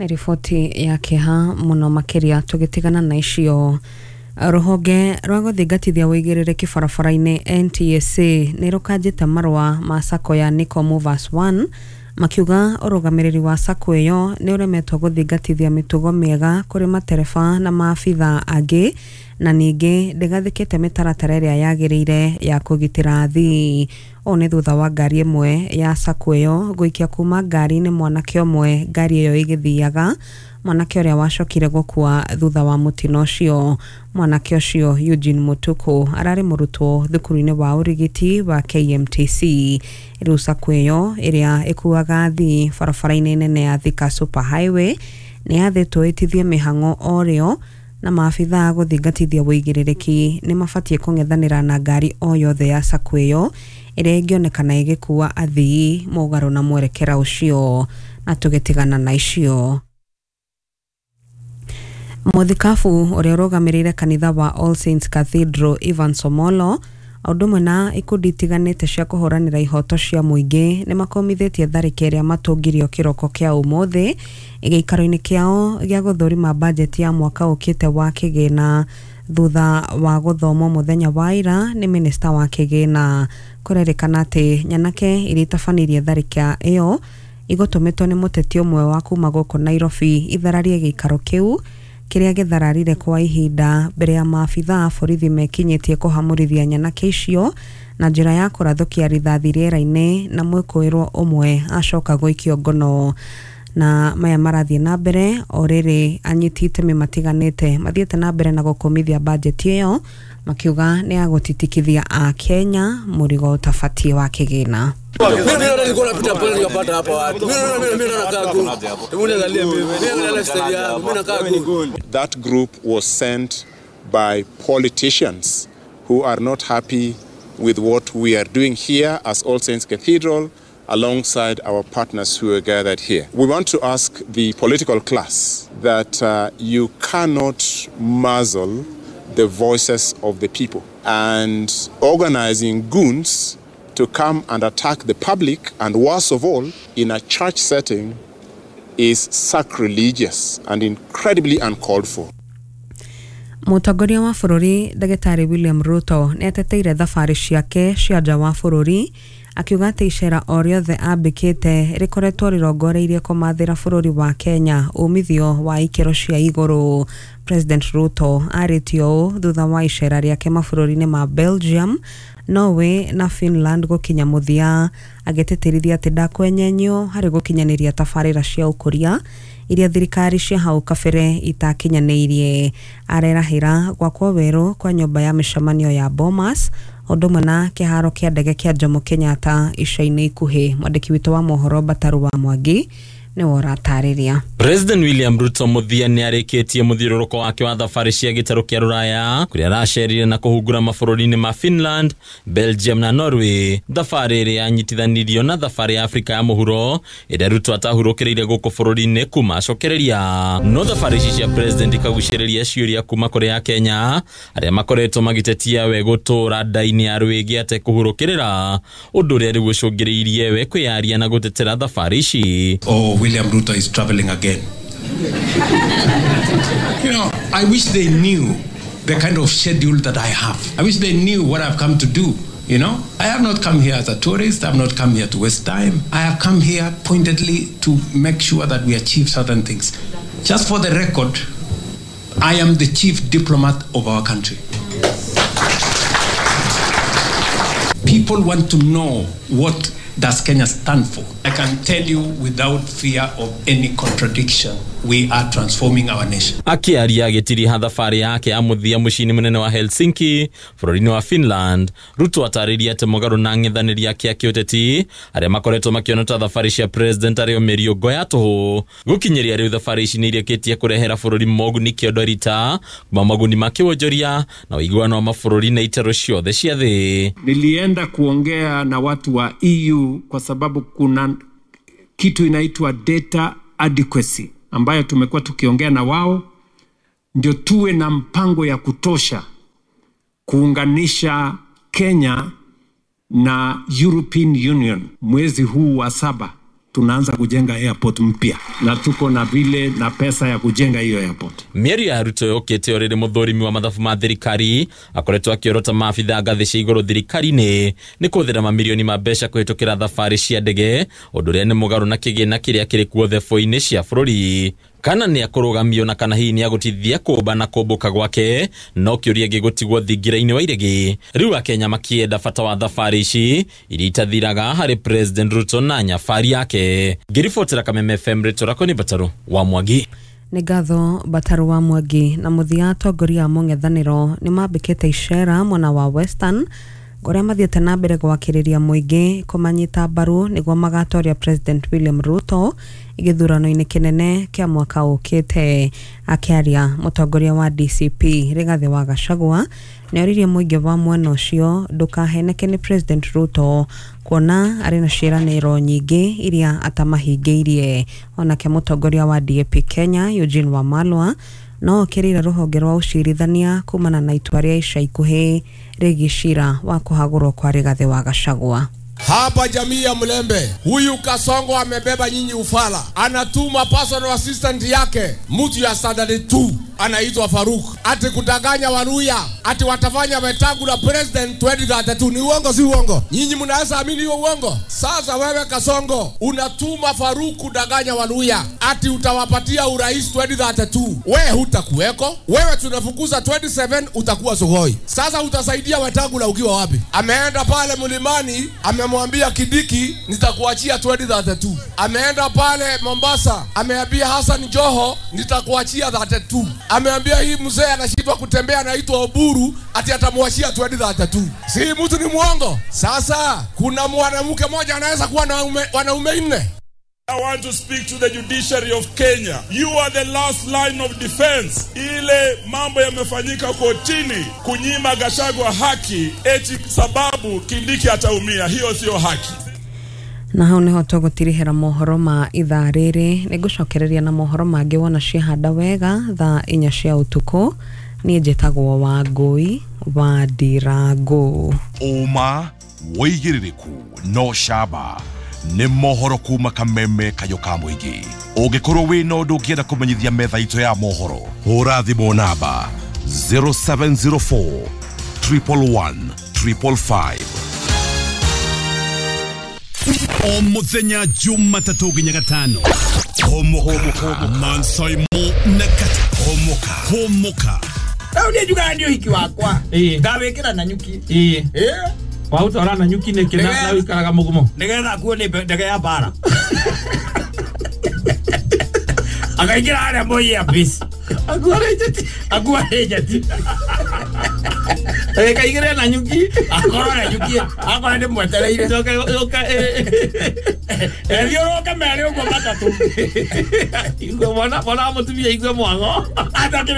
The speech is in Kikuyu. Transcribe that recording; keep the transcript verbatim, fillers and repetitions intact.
Nĩ riboti ya kĩeha mũno makĩria. Tũgĩtigana na icio, rũhonge rwa gũthingatithia ũigĩrĩrĩki barabara-inĩ N T S A nĩ rũkanjĩte marũa ma sacco ya Nico Movers One, makiuga ũrũgamĩrĩri wa sacco ĩyo nĩ ũremetwo gũthingatithia mĩtugo mĩega kũrĩ matereba na maabitha angĩ, na ningĩ ndĩgathĩkĩte mĩtaratara ĩrĩa yagĩrĩire ya kũgitĩra athii. Ũũ nĩ thutha wa ngari ĩmwe ya sacco ĩyo gũikia kuma ngari-inĩ mwanake ũmwe ngari ĩyo ĩgĩthiaga, mwanake ũrĩa wacokire gũkua thutha wa mũtino ũcio. Mwanake ũcio Eugene Mutuku ararĩ mũrutwo thukuru-inĩ wa ũrigiti wa K M T C. Rĩu sacco ĩyo ĩrĩa ĩkuaga athii barabara-inĩ nene ya Thika Super Highway nĩ yathĩtwo ĩtithie mĩhang'o o rĩo, na maabitha gũthingatithia ũigĩrĩrĩki nĩ mabatiĩ kũng'ethanĩra na ngari o yothe ya sacco ĩyo ĩrĩa ĩngĩonekana ĩgĩkua athii mũgarũ na mwerekera ũcio. Na tũgĩtigana na icio, mũthikabu ũrĩa ũrũgamĩrĩire kanitha wa All Saints Cathedral Evans Omolo, o ũndũ ũmwe na ikundi itiganĩte cia kũhũranĩra ihoto cia mũingĩ, nĩ makomithĩtie tharĩkĩro ĩrĩa matũngirio kĩroko kĩa ũmũthĩ gĩikaro-inĩ kĩao gĩa gũthũrima bajeti ya mwaka ũkĩte wa kĩgĩna, thutha wa gũthomwo mũthenya wa ira nĩ minista wa kĩgĩna. Kũrerĩkana atĩ nyanake iria itabanirie tharĩkĩra ĩyo igũtũmĩtwo nĩ mũteti ũmwe wa kuma gũkũ Nairobi ithararie gĩikaro kĩu, kĩrĩa gĩthararire kwa ihinda mbere ya maabitha a borithi mekinyĩtie kũhamũrithia nyanake icio na njĩra ya kũrathũkia rithathi rĩera-inĩ, na mwĩkũĩrwo ũmwe acoka gũikio ngono. Na maya marathiĩ na mbere o rĩrĩ anyiti itemi matiganĩte mathiĩte na mbere na gũkũmithia bajeti ĩyo, makiuga nĩ ya gũtitikithia a Kenya mũrigo ũtabatiĩ wa kĩgĩna. Mimi ndio nilikuwa napita pale nikapata hapa watu. Mimi naona mimi mimi nakaa good. Hebu niangalie mimi. Mimi naangalia lifestyle yangu. Mimi nakaa good. That group was sent by politicians who are not happy with what we are doing here as All Saints Cathedral alongside our partners who are gathered here. We want to ask the political class that uh, you cannot muzzle the voices of the people, and organizing goons to come and attack the public, and worst of all, in a church setting, is sacrilegious and incredibly uncalled for. Mũtongoria wa bũrũri Ndagĩtarĩ William Ruto nĩ ateteire thabarĩ ciake cia nja wa bũrũri, akiuga atĩ icera o rĩothe ambĩkĩte rĩkoretwo rĩrongoreirie kũmathĩra bũrũri wa Kenya umithio wa ikĩro cia igũrũ. President Ruto arĩtie ũũ thutha wa icera rĩake mabũrũri-inĩ ma Belgium, Norway na Finland gũkinya mũthia, agĩtĩtĩrithia atĩ ndakwenyenyio harĩ gũkinyanĩria tabarĩra cia ũkũria iria thirikari cia hau kabere itakinyanĩirie. Arerahĩra gwakwo werũ kwa nyũmba ya mĩcemanio ya Bomas ũndũ ũmwe na kĩharo kĩa ndege kĩa Jomo Kenyatta ica-inĩ ikuhĩ. Mwandĩki witũ wa mohoro Bataru wa Mwangi nĩwe ũratarĩria. President William Ruto mũthia nĩ arĩkĩtie mũthiũrũrũko wake wa thabarĩ cia gĩtarũ kĩa rũraya, kũrĩa aracerire na kũhungura mabũrũri-inĩ ma Finland, Belgium na Norway. Thabarĩ ĩrĩa yanyitithanirio na thabarĩ ya Afrika ya mũhuro ĩrĩa Ruto atahurũkĩrĩire gũkũ bũrũri-inĩ kuma acokereria. No thabarĩ ici cia president ikagucĩrĩria ciũria kuma kũrĩ Akenya arĩa makoretwo magĩtetia we gũtũra nda-inĩ ya rwĩgĩ atekũhurũkĩrĩra, ũndũ ũrĩa rĩu ũcũngĩrĩirie we kwĩyaria na gũtetera thabarĩ ici. Oh, William Ruto is traveling again. you know, I wish they knew the kind of schedule that I have. I wish they knew what I've come to do. You know, I have not come here as a tourist. I have not come here to waste time. I have come here pointedly to make sure that we achieve certain things. Just for the record, I am the chief diplomat of our country. People want to know, what does Kenya stand for? I can tell you without fear of any contradiction, we are transforming our nation. Akĩaria agĩtiriha thabarĩ yake ya mũthia mũciĩ-inĩ mũnene wa Helsinki bũrũri-inĩ wa Finland, Ruto atarĩria atĩ mũgarũ na ang'ethanĩri ake a kĩũteti arĩa makoretwo makĩona ta thabarĩ cia president arĩ o mĩriũngo ya tũhũ, gũkinyĩria rĩu thabarĩ ici nĩ irĩkĩtie kũrehera bũrũri moguni kĩondo rita kuma moguni ma kĩwonjoria na ũiguano wa mabũrũri na itaro ciothe cia thĩ. Nilienda kuongea na watu wa E U kwa sababu kuna kitu inaitwa data adequacy ambayo tumekuwa tukiongea na wao, ndio tuwe na mpango ya kutosha kuunganisha Kenya na European Union. Mwezi huu wa saba Tunaanza kujenga airport mpya na tuko na vile na pesa ya kujenga hiyo airport. Mĩario ya Ruto yũkĩte o rĩrĩ mũthũrimi wa mathabu ma thirikari akoretwo akĩorota maabithaa ngathĩ cia igũrũ thirikari-inĩ nĩ kũhũthĩra mamirioni ma mbeca kũhĩtũkĩra thabarĩ cia ndege, ũndũ ũrĩa nĩ mũgarũ na kĩgĩna kĩrĩa kĩrĩ kuo thebũ-inĩ cia bũrũri. Kana nĩ akũrũgamio na kana hihi nĩ agũtithia kũmba na kũmbũka gwake no kĩũria gĩgũtigwo thingira-inĩ wa iregi. Rĩu Akenya makĩenda bata wa thabarĩ ici iria itathiraga harĩ President Ruto na nyabari yake. Ngĩribotera Kameme F M rĩtwa rĩakwa nĩ Mbataru wa Mwangi. Nĩ ngatho Mbataru wa Mwangi. Na mũthia atongoria a mũng'ethanĩro nĩ mambĩkĩte icera mwena wa Western kũrĩa mathiĩte na mbere gwakĩrĩria mũingĩ kũmanyita mbaru nĩguo magatoria President William Ruto gĩthurano-inĩ kĩnene kĩa mwaka ũkĩte. Akĩaria mũtongoria wa D C P Rigathĩ wa Gachagua nĩoririe mũingĩ wa mwena ũcio ndũkaheneke nĩ President Ruto kuona arĩ na ciĩranĩro nyingĩ iria atamahingĩirie. Onake mũtongoria wa D A P Kenya Eugene Wamalwa no okĩrĩire rũhonge rwa ũcirithania kumana na itua rĩa ica ikuhĩ rĩgiĩ cira wa kũhagũrwo kwa Rigathĩ wa Gachagua. Hapa jamii ya Mlembe, huyu Kasongo amebeba nyinyi ufala. Anatuma personal assistant yake, mtu ya standard two, anaitwa Faruk, ati kudanganya Waluya, ati watafanya Wetangula president twenty thirty-two. Ni uongo si uongo? Nyinyi mnaweza amini hiyo uongo? Sasa wewe Kasongo, unatuma Faruk kudanganya Waluya, ati utawapatia urais twenty thirty-two. Wewe hutakuweko. Wewe tunafukuza twenty-seven utakuwa Sugoi. Sasa utasaidia Wetangula ukiwa wapi? Ameenda pale mlimani, amemwambia Kidiki nitakuachia twenty thirty-two. Ameenda pale Mombasa, ameambia Hassan Joho nitakuachia thirty-two. Ameambia hii mzee anashindwa kutembea anaitwa Oburu ati atamwachia twenty thirty-two. Si mtu ni muongo. Sasa kuna mwanamke mmoja anaweza kuwa na wanaume nne. I want to speak to the judiciary of Kenya. You are the last line of defense. Ile mambo yamefanyika kotini kunyima Gachagua haki eti sababu Kindiki ataumia. Hiyo sio haki. Na hau niho tũgũtirihĩra mohoro ma ithaa rĩrĩ. Nĩngũcokereria na mohoro mangĩ wona ciahanda wega thaa inya cia ũtukũ. Niĩ njĩtagwo Wangũi wa Ndirango. Ũma wĩigĩrĩrĩku no camba nĩ mohoro kuma Kameme kayo ka mũingĩ. Ũngĩkorwo wĩna ũndũ ũngĩenda kũmenyithia metha itũ ya mohoro, hũra thimũ namba zero seven zero four triple one triple five. O muthenya Jumatatũ nginya gatano. Homoka Mansaimo na kata Homoka Homoka. Rĩu niĩ njugaga nĩ ũhiki wakwa ngawĩkĩra na nyuki. Ĩĩ waũtwara na nyuki nĩkĩ na ũikaraga mũgumo nĩgetha kuo nĩ ndege ya mbara akaingĩra harĩa Moi Air Base akua njeti akaingĩra na nyuki akorwo na nyuki akorwo nĩ mwetereire ethiũrũke merĩ ũguo matatũ mwana mwana mũtumia igue mwago atakĩrĩ.